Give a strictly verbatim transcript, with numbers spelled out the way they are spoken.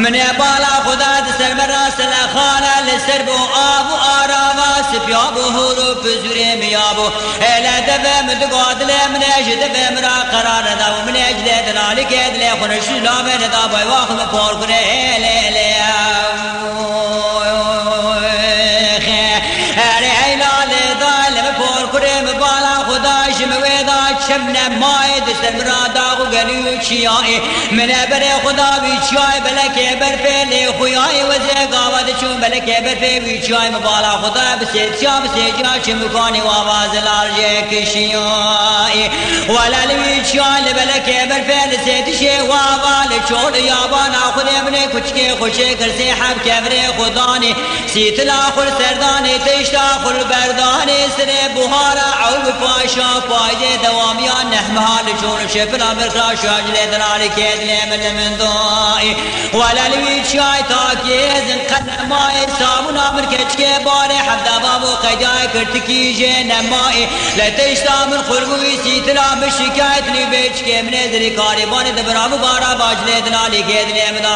Min e bala Xuda di ser me rastine xane, li ser bû av û arava, sipiya bû hûr û pizûrê miya bû. Hele deve min diga dilê min e, ji deve min ra qerar neda û min e cilê dinalî ke dilê xwe ne şûla me neda, bay waxu min por kure hele hele. Erê heyla lê da li min por kurê min bala Xuda ji min wê da çim nemayê, di ser min ra dax û gelî û çiyayê. Min e berê Xuda wî çiyayê belekê berfê lê xuyayê wezê gava diçûn belekê berfê wî çiyayê min bala Xuda bi sêtiya bi sêciya çim û kanî wava zilar jê kişiyayê. Wele li wî çiyayê li belekê berfê li sêtişê wava li çol yabana xudê min ê kuçikê xweşê kirsê heb kevirê xudanê. Sîtila xwe li serdanê, tişta xwe li berdanê, sirê buhara ew bi paşa payê dewamiya nehmeha li çol şefila mirxaşa cilê dinarê kê dilê min li min dayê. Wele li wî çiyay takê zin qet nemayê, sabûna min keçikê barê hevdeva bo qedayê kirtikî jê nemayê. Li tişta min xurbûyî sîtila min şikayet lî bê çikê min ê zirî karê banê di bira min bara bacilê dinalê kê dilê min da.